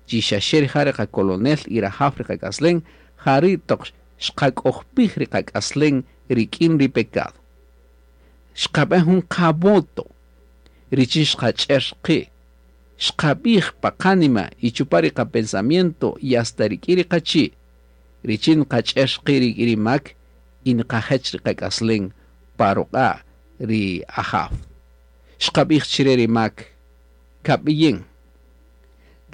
chi xaxe rija' ri qakolonel y rajaw ri qak'aslen, jari' toq xqak'ojpij ri qak'aslen rik'in ri pecado. Xqab'en jun qavoto richin xqach'er qi', xqab'ij pa qánima y chupa ri qapensamiento y hasta rik'in ri qachi', richin nqach'er qi' rik'in ri mak y nqajech ri qak'aslen pa ruq'a' ri ajaw. Xqab'ij chire ri mak, kab'iyin,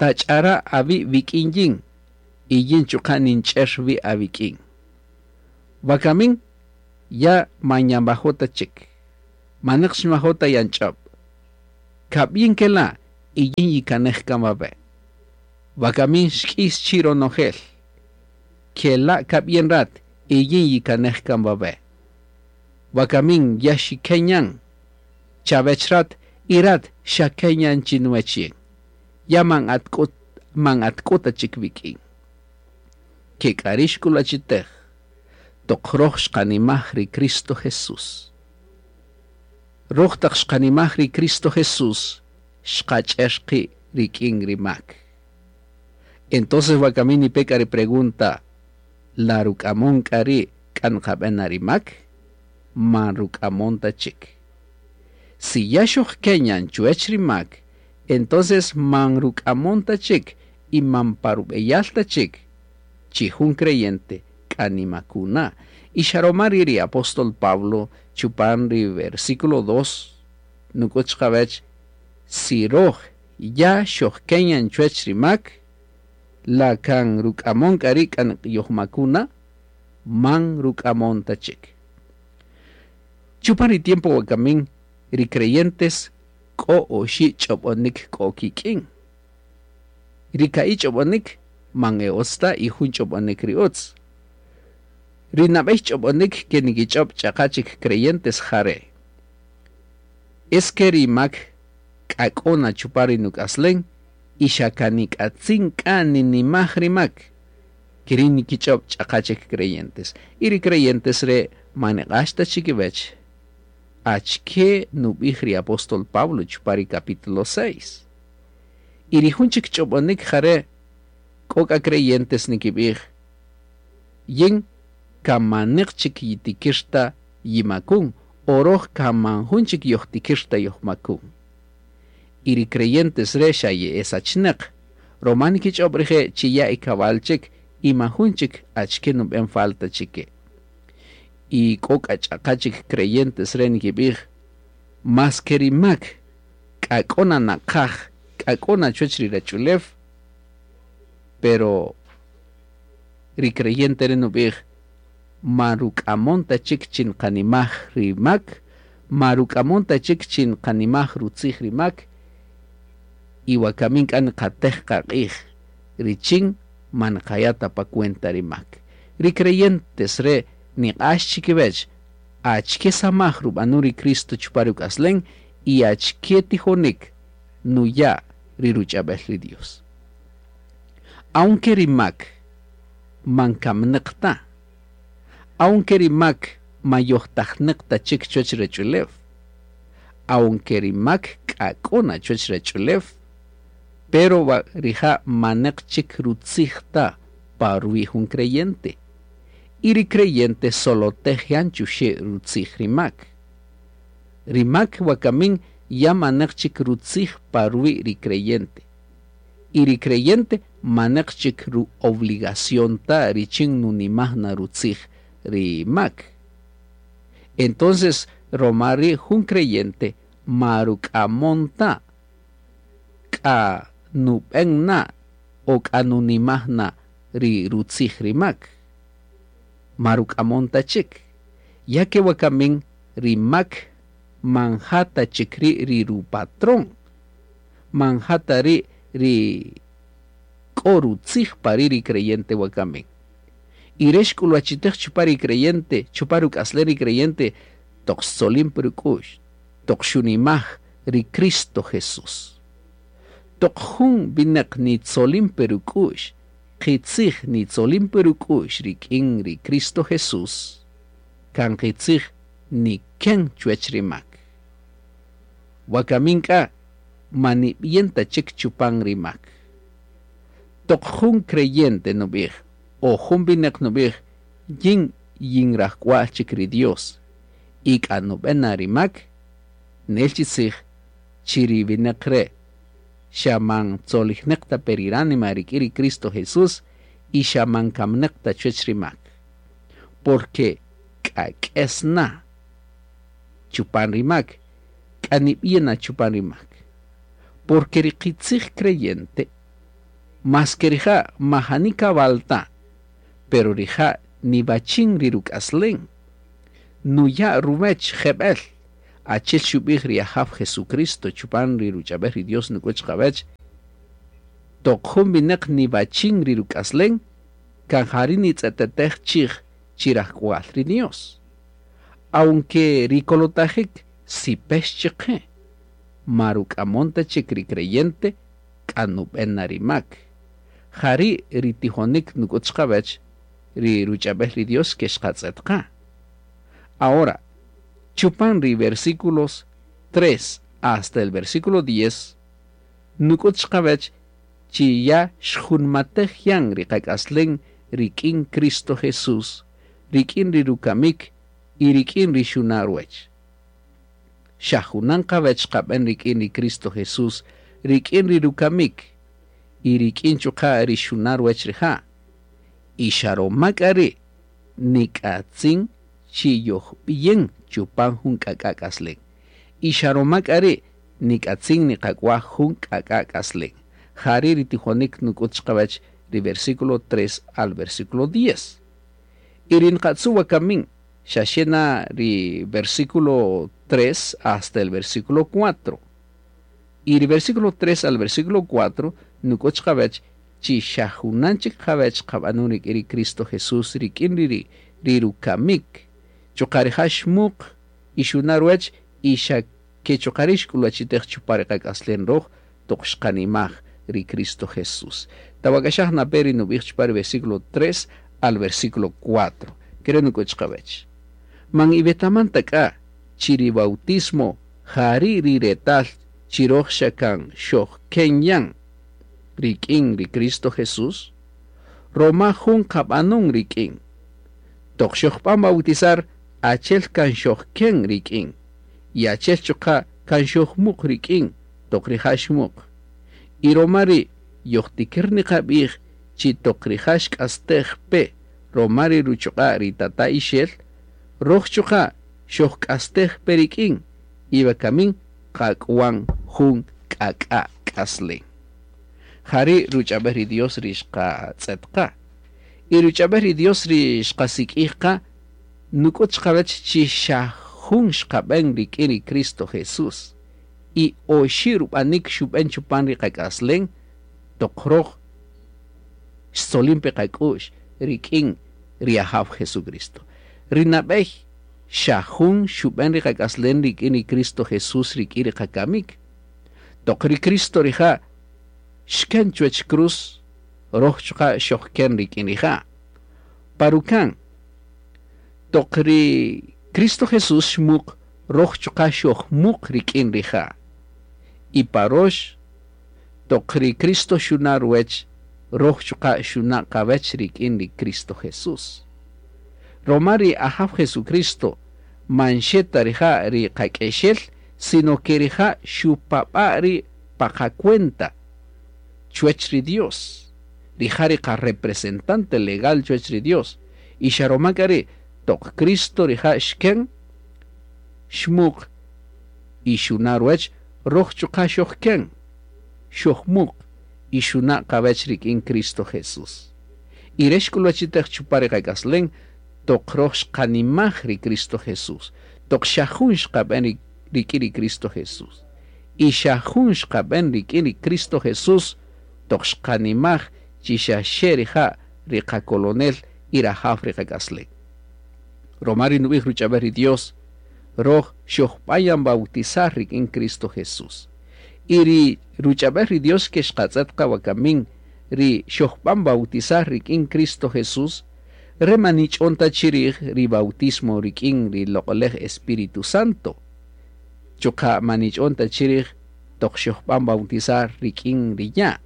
tach'ara' awi' wik'in yin y yin chuqa' ninch'er wi' awik'in. Wakamin ya man yanwajo' ta chik, maneq xinwajo' ta yanch'ob'. Kab'yin kela' y yin yikanej kan wawe'. Wakamin xk'is chi ronojel. Kela' kab'yin rat y yin yikanej kan wawe'. Wakamin ya xikenyan chawech rat y rat xakenyan chinuwech yin. Ya man atk'o ta chik wik'in. Ke k'a ri' xk'ulwachitej toq roj xqanimaj ri Cristo Jesús. Roj taq xqanimaj ri Cristo Jesús, xqach'er qi' rik'in ri mak. Entonces wakamin nipe k'a ri pregunta, la ruk'amon k'a ri' k'a nqab'en na ri mak? Man ruk'amon ta chik. Si ya xojkenyan chuwech ri mak, entonces man ruk'amon ta chik y man parub'eyal ta chik, chi jun creyente k'a nimakuna. Y xaroma ri' ri apóstol Pablo chupan ri versículo 2 nuk'ut chiqawech, si roj ya xojkenyan chuwech ri mak, la kan ruk'amon k'a ri' k'a yojmakuna, man ruk'amon ta chik. Chupan ri tiempo wakamin, ri creyentes k'o oxi' ch'ob'onik k'o kik'in. Ri ka'i' ch'ob'onik man e utz ta y jun ch'ob'onik ri utz. Ri nab'ey ch'ob'onik ke nikich'ob' ch'aqa chik creyentes jare'. Es que ri mak k'a k'o na chupan ri nuk'aslen y xa kan nik'atzin k'a ninimaj ri mak. Keri' nikich'ob' ch'aqa chik creyentes. Y ri creyentes re' man niq'ax ta chikiwech achke nub'ij ri apóstol Pablo chupan ri capítulo 6. Y ri jun chik ch'ob'onik jare' k'o k'a creyentes nikib'ij, yin kamaneq chik yitikir ta yimakun, o roj kaman jun chik yojtikir ta yojmakun. Y ri creyentes re' xa ye'esachneq, roma nikich'ob' rije' chi ya ikawal chik y man jun chik achke nub'en falta chike. Y k'o k'a ch'aqa chik creyentes re' nikib'ij, mas ke ri mak k'a k'o na naqaj, k'a k'o na chuwech ri rach'ulew, pero ri creyente re' nub'ij, man ruk'amon ta chik chi nqanimaj ri mak, man ruk'amon ta chik chi nqanimaj rutzij ri mak, Y wakamin k'a niqatej qaq'ij richin ma niqaya' ta pa cuenta ri mak. Ri creyentes re' niq'ax chikiwech achike samaj rub'anun ri Cristo chupan ruk'aslen y achike tijonik nuya' ri ruch'ab'el ri Dios. Aunque ri mak man kamnäq ta, aunque ri mak ma yojtajnäq ta chik chuwäch ruwach'ulew, aunque ri mak k'a k'o na chuwäch ruwach'ulew, pero rija' manäq chik rutzij ta pa ruwi' jun creyente. Y ri creyente solotej yan chuxe' rutzij ri mak. Ri mak wakamin ya manäq chik rutzij pa ruwi' ri creyente. Y ri creyente manäq chik ru-obligación ta richin nunimaj na rutzij ri mak. Entonces, roma ri' jun creyente ma ruk'amon ta k'a nub'en na o k'a nunimaj na ri rutzij ri mak. Ma ruk'amon ta chik. Ya ke wakamin ri mak man ja ta chik ri' ri rupatrón, man ja ta ri' ri k'o rutzij pa ri' ri creyente wakamin. Y re' xk'ulwachitej chupan ri creyente, chupan ruk'aslen ri creyente, toq xtzolin pa ruk'u'x, toq xunimaj ri Cristo Jesús. Toq jun winäq nitzolin pa ruk'u'x, qitzij nitzolin pa ruk'u'x rik'in ri Cristo Jesús, kan qitzij niken chuwech ri mak. Wakamin k'a ma nib'iyen ta chik chupan ri mak. Toq jun creyente nub'ij o jun winäq nub'ij yin yinrajk'wa'l chik ri Dios y k'a nub'en na ri mak, nel chi tzij chi ri winäq re' xa man tzolijnäq ta pe ri ránima rik'in ri Cristo Jesús y xa man kamnäq ta chuwech ri mak. Porque k'a k'es na chupan ri mak, k'a nib'iyen na chupan ri mak. Porque ri qitzij creyente, mas ke rija' majani kab'al ta, pero rija' niwachin ri ruk'aslen, nuya' ruwech jeb'el, achi'el xub'ij ri Ajaw Jesucristo chupan ri ruch'ab'el ri Dios nuk'ut chiqawech, toq jun winäq niwachin ri ruk'aslen, kan jari' nitz'etetej chij chi rajk'wa'l ri Dios. Aunque ri kolotajik sipex chiqe, ma ruk'amon ta chik ri creyente k'a nub'en na ri mak. Jari' ri tijonik nuk'ut chiqawech ri ruch'ab'el ri Dios ke xqatz'et qa. Ahora, chupan ri versículos 3 hasta el versículo 10, nuk'ut chiqawech chi ya xjunmatej yan ri qak'aslen rik'in Cristo Jesús, rik'in ri rukamik y rik'in ri xuna' ruwech. Xa junan qawech qab'en rik'in ri Cristo Jesús, rik'in ri rukamik y rik'in chuqa' ri xuna' ruwech rija'. Y xa roma k'a ri' nik'atzin chi yojb'iyen chupan jun k'ak'a' k'aslen. Y xa roma k'a ri' nik'atzin niqak'waj jun k'ak'a' k'aslen. Jari' ri tijonik nuk'ut chiqawech ri versículo 3 al versículo 10. Y ri nqatzu wakamin xa xe na ri versículo 3 hasta el versículo 4. Y ri versículo 3 al versículo 4 nuk'ut chiqawech chi xa junan chik qawech qab'anun rik'in ri Cristo Jesús rik'in ri ri rukamik. Chuqa' rija' xmuq y xuna' ruwech y xa ke chuqa' ri' xk'ulwachitej chupan ri qak'aslen roj toq xqanimaj ri Cristo Jesús. Tawak'axaj nape ri nub'ij chupan ri versículo 3 al versículo 4. Kere' nuk'ut chiqawech. Man iwetaman ta k'a chi ri bautismo jari' ri retal chi roj xa kan xojken yan rik'in ri Cristo Jesús, roma jun qab'anun rik'in. Toq xojb'an bautizar, achel kan xojken rik'in, y achel chuqa' kan xojmuq rik'in toq rija' xmuq. Y roma ri' yojtikir niqab'ij chi toq rija' xk'astej pe roma ri ruchuq'a' ri tata ixel, roj chuqa' xojk'astej pe rik'in, y wakamin qak'wan jun k'ak'a' k'aslen. Jari' ruch'ab'el ri Dios ri xqatz'et qa. Y ruch'ab'el ri Dios ri xqasik'ij qa, nuk'ut chiqawech chi xa jun xqab'en rik'in ri Cristo Jesús. Y oxi' rub'anik xub'en chupan ri qak'aslen toq roj xtzolin pe qak'u'x rik'in ri Ajaw Jesucristo. Ri nab'ey xa jun xub'en ri qak'aslen rik'in ri Cristo Jesús rik'in ri qakamik. Toq ri Cristo rija' xken chuwech cruz, roj chuqa' xojken rik'in rija'. Pa rukan, toq ri Cristo Jesús xmuq, roj chuqa' xojmuq rik'in rija'. Y pa rox, toq ri Cristo xuna' ruwech, roj chuqa' xuna' qawech rik'in ri Cristo Jesús. Roma ri Ajaw Jesucristo man xe ta rija' ri qak'exel, sino ke rija' xupab'a' ri' pa qacuenta chuwech ri Dios. Rija' ri qarepresentante legal chuwech ri Dios. Y xa roma k'a ri' toq Cristo rija' xken, xmuq y xuna' ruwech, roj chuqa' xojken, xojmuq y xuna' qawech rik'in Cristo Jesús. Y re' xk'ulwachitej chupan ri qak'aslen toq roj xqanimaj ri Cristo Jesús, toq xa jun xqab'en rik'in ri Cristo Jesús. Y xa jun xqab'en rik'in ri Cristo Jesús toq xqanimaj chi xa xe rija' ri qakolonel y rajaw ri qak'aslen. Roma ri nub'ij ruch'ab'el ri Dios, roj xojb'an yan bautizar rik'in Cristo Jesús. Y ri ruch'ab'el ri Dios ke xqatz'et qa wakamin ri xojb'an bautizar rik'in Cristo Jesús, re man nich'on ta chirij ri bautismo rik'in ri loq'olej Espíritu Santo. Chuqa' man nich'on ta chirij toq xojb'an bautizar rik'in ri ya'.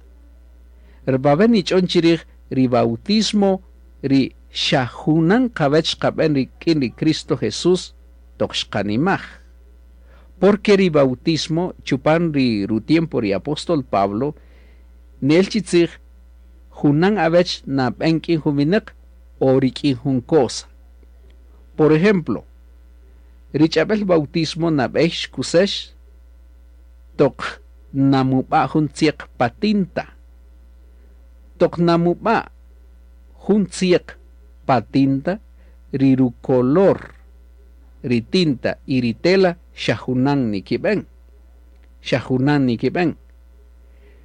Rbabe nich'on chirij ri bautismo ri xa junan qawech xqab'en rik'in ri Cristo Jesús toq xqanimaj. Porque ri bautismo chupan ri rutiempo ri apóstol Pablo nel chi tzij junan awech nab'en k'in jun winäq o rik'in jun cosa. Por ejemplo, ri ch'ab'el bautismo nab'ey xkusex toq namub'a' jun tzieq pa tinta. Toq namub'a' jun tzieq pa tinta, ri rucolor ri tinta y ri tela xa junan nikib'en. Xa junan nikib'en.